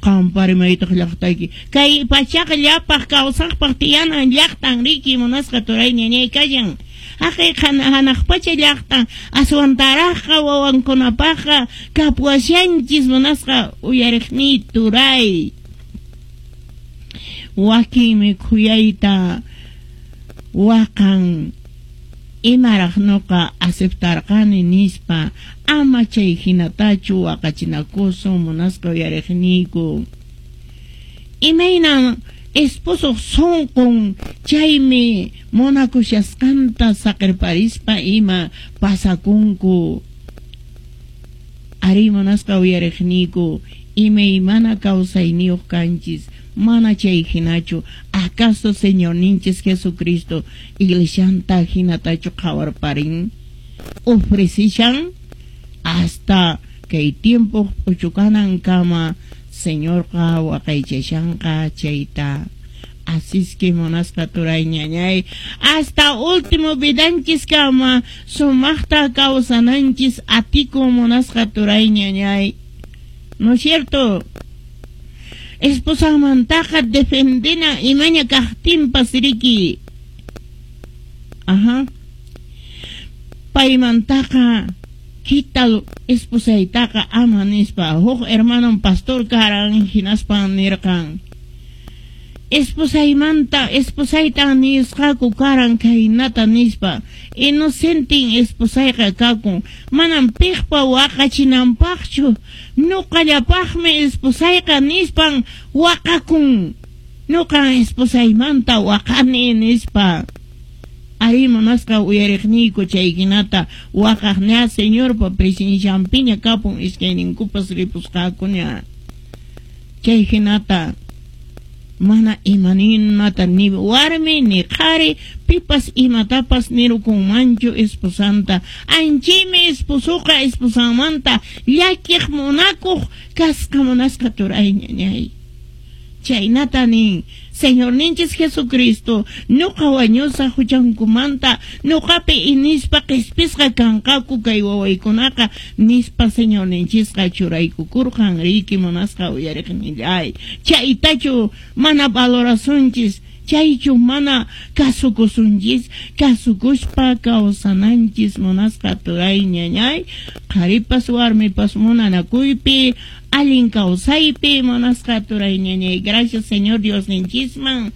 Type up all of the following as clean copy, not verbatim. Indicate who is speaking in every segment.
Speaker 1: Qampari maytaq llaqtayki? Kay pachaqa llapaq kawsaqpaq tiyanan llaqtan riki munasqa turay ñañay kallan. Haqay hanaq pacha llaqtan aswantaraqqa wawankunapaqqa kapuwashanchis munasqa uyariqniy turay. Wakinmi khuyayta waqan imaraq nuqa aceptarqani nispa, ama chay hinatachu waqachinakusun munasqa uyariqniyku. Imaynan esposoq sunqun chaymi munakushasqanta saqirparispa ima pasakunku. Arí munasqa uyariqniyku, imaymana kawsayniyuq kanchis, mana chay hinachu, acaso Señorninchis Jesucristo iglesianta hinatachu qhawarparin? Ofrecishan hasta kay tiempo p'uchukanankama Señorqa waqaychashanqa chayta. Así es que munasqa turay ñañay, hasta último vidanchis kama sumaqta kawsananchis atikun munasqa turay ñañay. ¿No es cierto? Esposanmantaqa defendina imaña kaqtinpas riki. Ajá. Paymantaqa kita esposaytaqa ama nispa. Huk hermanon pastor karan hinaspan nirqan. Esposaymanta, esposaytan nisqaku karan khaynata nispa. Inocentin esposayqa kakun. Manam piqpa waqachinanpaqchu. Nuqallapaqmi esposayqa nispan waqakun. Nuqan esposaymanta waqani nispa. Arí munasqa uyariqniyku chay hinata waqaq ña Señorpa presencianpiña kapun iskayninkupas ripusqakuña. Chay hinata mana imaninmata ni warmi ni qhari pipas imatapas nirukunmanchu esposanta. Anchaymi esposuqa esposanmanta llakiq munakuq kasqa munasqa turay ñañay. Chaynata nin Señorninchis Jesucristo nuqa wañusaq huchankumanta nuqapi inispa qispisqa kanqaku kay wawaykunaqa nispa Señorninchisqa churaykukurqan riki munasqa uyariqnillay. Chaytachu mana valorasunchis, chaychu mana kasukusunchis, kasukuspa kawsananchis munasqa turay ñañay, qharipas warmipas munanakuypi allin kawsaypi munasqa turay ñañay. Gracias Señor Diosninchisman.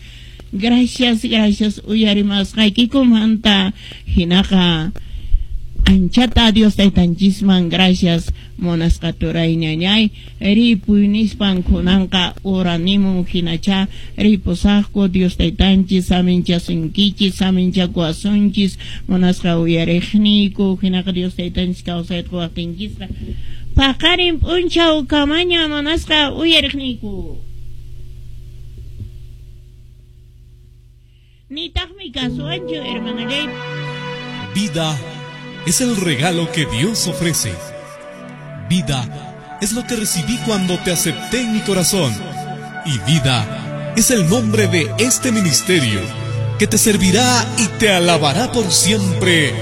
Speaker 1: Gracias, gracias uyarimasqaykikumanta. Hinaqa anchata Dios taytanchisman gracias munasqa turay ñañay. Ripuy nispan kunanqa uranimun hinacha ripusaqku Dios taytanchis saminchasunkichis saminchakuwasunchis munasqa uyariqniyku hinaqa Dios taytanchis kawsayta quwaqtinchisqa paqarin p'unchaw kamaña munasqa uyariqniyku. Nitaqmi kasuwanchu hermanallay.
Speaker 2: Vida es el regalo que Dios ofrece. Vida es lo que recibí cuando te acepté en mi corazón. Y vida es el nombre de este ministerio que te servirá y te alabará por siempre.